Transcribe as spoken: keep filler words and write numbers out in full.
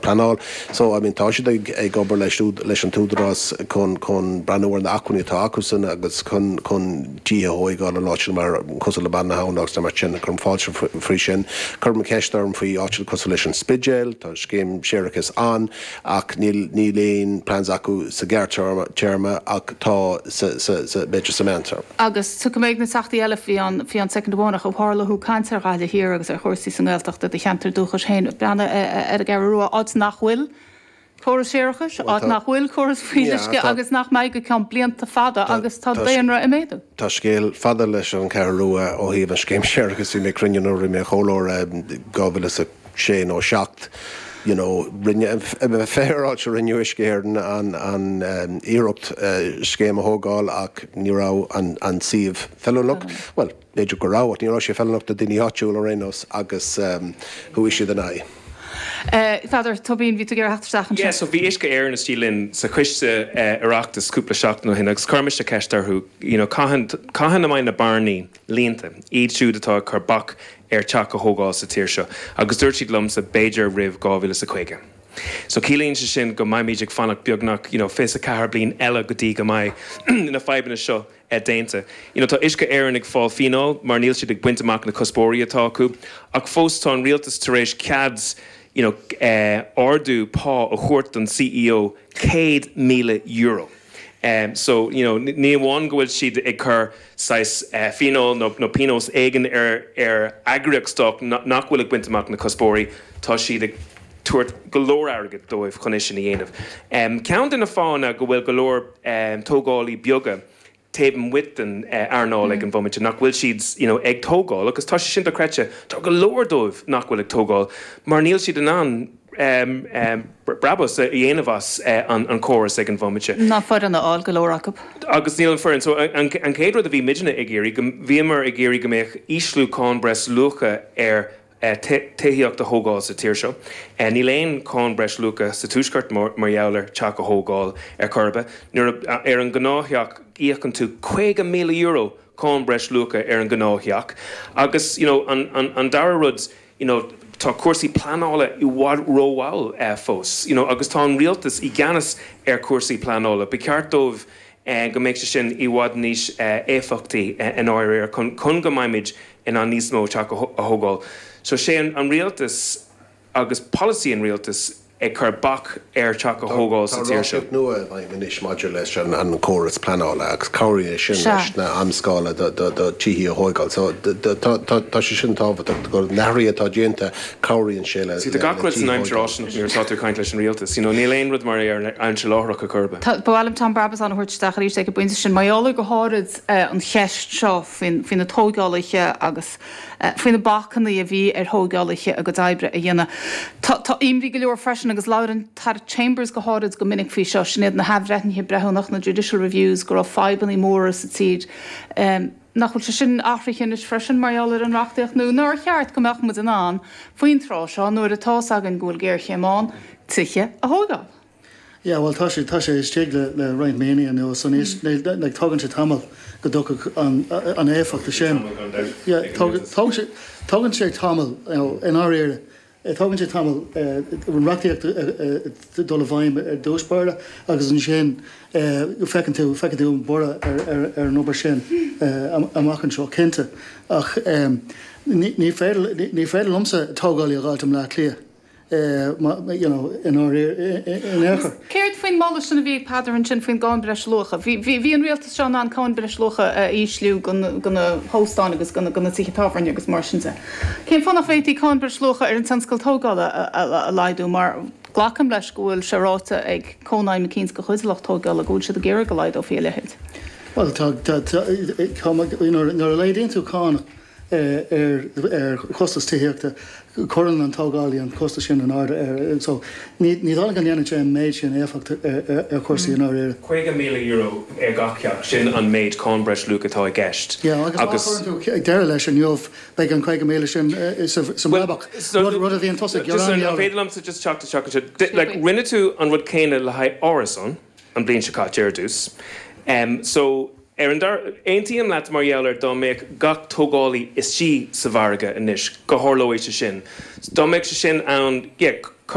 pleanáil. So I mean tá siad ag ag obair leis leis an t-údarás chun chun breathnú ar na hacmhainní atá acusan agus chun chun tithe a thógáil an áit mar cosúil le Baile na hAbhann agus mar sin chun fáilte faoi sin. Cuir ceist orm faoi áit cosúil leis an Spidéal, tá scéim séarachais ann ach níl níl aon plans acu sa ghearrthéarma ach tá b'fhéidir sa mheántéarma. Agus tu go méid na teachtaí eile faoi an faoi an soicind amháin ó tharla thú caint ar Ghaillimh Thiar agus ar chúrsaí sa nGaeltacht do cheantar dúchais féin breathnaigh ar an gCeathrú Rua áit nach bhfuil córas séarachais, áit nach bhfuil córas fuíolluisce agus nach mbeidh go ceann blianta fada agus tá daonra ag méadú. Tá scéal fada leis an Cheathrú Rua ó thaobh an scéim séarachais bhí mé cruinne nó mé chóir dhá mhíle a sé nó seacht. You know, rinne féaráilte rinne Uisce Éireann an, an um, iarracht uh, scéim a thógáil ach ní raibh an, an suíomh feiliúnach. Mm. Well, b'fhéidir go raibh ní raibh sé feiliúnach do daoine áitiúil ar aon nós agus um, chuaigh siad in aghaidh. Peadar Tóibín bhí tú ag iarraidh Yeah, so bhí Uisce Éireann istigh linn sa choiste Oireachtais cúpla seachtain ó shin agus chuir mise ceist orthu you know, cathain cathain a mbeidh na bearnaí líonta iad siúd atá ag cur bac ar teach a thógáil sa tír seo, agus dúirt siad liomsa b'fhéidir roimh dhá mhíle is a caoga. So ciallaíonn sé sin go mbeimid ag fanacht beagnach you know, fiche a ceathair bliain eile go dtí go mbeidh na fadhbanna seo eh, déanta. You know, tá Uisce Éireann ag fáil fíneáil mar níl siad ag baint amach na cuspóirí atá acu, ach fós tá an rialtas tar éis cead you know, uh, ardú pá a thabhairt don CEO céad míle euro. Um, so you know, ní amháin go bhfuil siad ag cur saghas uh, fíneáil nó, nó pionós éigin ar ar eagraíocht stáit nach bhfuil ag baint amach na cuspóirí, tá siad ag tabhairt go leor airgid dóibh chun é sin a dhéanamh. Um, Ceann de na fáthanna go bhfuil go leor um, tógálaí beaga taobh amuigh den uh, earnáil ag an bhomaite nach bhfuil siad you know, ag tógáil, agus tá sé sin dochreidte tá go leor dóibh nach bhfuil ag tógáil, mar níl siad in ann um, um, brabús a dhéanamh as uh, an, an córas ag an bhomaite. Ná foireann a fháil go leor acu. Agus níl an foireann so an, an chéad rud a bhí muidne ag iarraidh go bhíomar ag iarraidh go mbeadh ísliú cáin breisluacha ar uh, tithíocht a thógáil sa tír seo. Uh, níl aon cháin breisluacha sa tuaisceart mar gheall ar teach a thógáil ar chor ar bith. Nuair ar an gnáththeach íocann tú caoga míle euro cáin breisluacha ar an gnáththeach. Agus you know, an, an, an dara rud you know, tá cúrsaí pleanála i bhfad rómhall uh, fós. You know, agus tá an rialtas i gceannas ar cúrsaí pleanála. Ba cheart dóibh uh, go mbeadh sé sin i bhfad níos uh, éifeachtaí uh, in áirithe chun, chun go mbeimid in ann níos mó teach a thógáil. So sé an, an rialtas agus polasaí an rialtas ag cur bac ar teach a thógáil sa tír seo. nua anois maidir leis an an córas pleanála agus cabhraíonn sin leis na amscála do tithe a thógáil. So tá sé sin tábhachtach go na hathruithe atá déanta cabhraíonn sé le Sí gach rud san aimsir nuair atá caint leis an rialtas, you know, níl aon rud mar ar aimsir láithreach a churbe. Bhil Tom Brabazon thuirteach arís ag buint sin maiála go háirid an cheist seo faoi na tógálaithe agus faoi na bacanna a bhí ar thógálaithe a gcuid oibre a dhéanamh. Tá imní go leor freisin agus labhair an Chambers go háirid go minic faoi seo sin iad na hathbhreithnithe breithiúnach na judicial reviews go raibh fadhbanna móra sa tír. Um, nach bhfuil sé sin athraithe anois freisin mar gheall ar an reachtaíocht nó nár cheart go mbeadh muid in ann faoin tráth seo nuair atá againn go bhfuil géarchéim ann tithe a thógáil. Ja, well tá sé tá sé istigh le le roinnt míonna anuas san le tógann sé tamall go dtiocfaidh an an éifeacht sin. Tógann sé tamall in áirithe. Tógann sé tamall an reachtaíocht dul i bhfeidhm ar dtús báire agus ansin feiceann tú feiceann tú an borradh ar an obair sin amach anseo cinnte ach ní féidir liomsa tógálaí a fháil i mBaile Átha Cliath. you know, in in aon Céard faoin moladh sin a bhí ag Peadar ansin faoin gcáin breisluacha. Bhí an rialtas seo an cáin breisluacha a ísliú go na hóstáin agus go na tithe tábhairne agus mar sin de. Cén fáth nach bhféadfaí cáin breisluacha ar an tionscal tógála a laghdú mar glacaim leis go bhfuil sé ráite ag Cónaidhm eicínt de chuid lucht tógála go bhfuil siad ag iarraidh go laghdófaí a leithéid. Well tá nuair a laghdaíonn tú cáin ar ar chostas tithíochta cuireann an tógálaí an costas sin in airde ar so ní ní dóigh go ndéanann sé an méid sin éifeacht ar chúrsaí in áirithe. Caoga míle euro ar gach teach sin an méid cáin breisluacha atá i gceist. Ja, agus tú ag deireadh leis inniu beidh an caoga míle sin sa mbrabach rud a bhíonn tosaigh Féidir liomsa just teacht isteach like rinne tú an rud céanna le haghaidh árasán an bliain seo caite ar dtús. Um, so ar an dar aontaím leat mar gheall ar dá mbeadh gach tógálaí istigh sa mhargadh anois go tharlóidh sé sin. Dá mbeadh sé sin ann yeah,